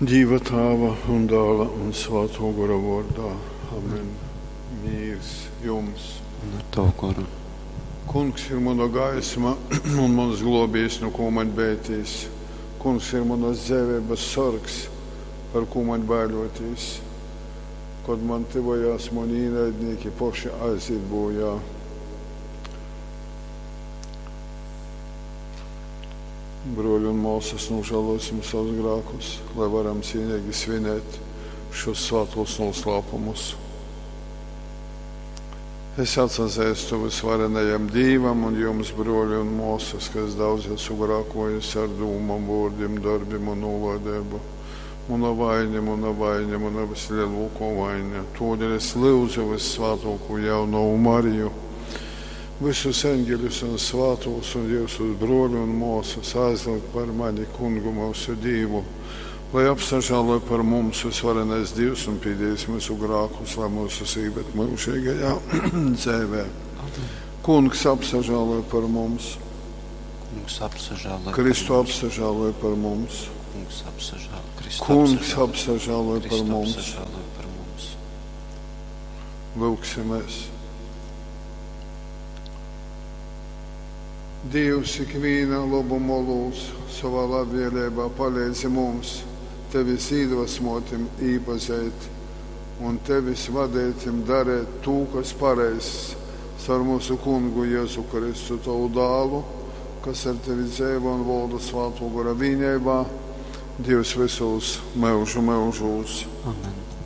Dīva Tāva un Dāla un Svātō Gora vōrdā. Amen. Mīrs jums. Un ar tavu goru. Kungs ir muna gaisma un muns glōbējs, nu kō maņ beitīs. Kungs ir munas dzeiveibas sorgs, par kū maņ baiļōtīs. Kod man tyvojās muni īnaidnīki, poši aizīt bojā. Bruoļi un māsas, nožēlosim savus grēkus, lai varam cienīgi svinēt šos svētos noslēpumus. Es atsazīstu visvarenajam Dīvam un jums, bruoļi un māsas, ka es daudz esmu grēkojis ar dūmām, vārdiem, darbiem un nolaidību. Mana vaina, mana vaina, mana vislielākā vaina. Todēļ es lūdzu vissvētāko jauno Mariju, visus eņģeļus un svētos un jūsu bruoļu un māsas aizlūgt par mani kungu mūsu Dievu, lai apsažāloj par mums visvarenais Dievs un pīdīs mūsu grēkus, lai mūsu sīvet mūžīgajā dzīvē. Kungs apsažāloj par mums, Kungs apsažāloj Kristu par mums. apsažāloj par mums, Kungs apsažāloj. Kristu Kungs apsažāloj. apsažāloj par Kristu mums. apsažāloj par mums. Lūksimies! Dievs ikviena labuma lūdz savā labvēlībā palīdzi mums, tevis iedvesmotim īpazīt un tevis vadītim darīt to, kas pareizs, caur mūsu kungu Jēzu Kristu, tavu dālu, kas ar tevi dzīvo un valda svēto gara vienībā, Dievs visos mūžu mūžos. Amen.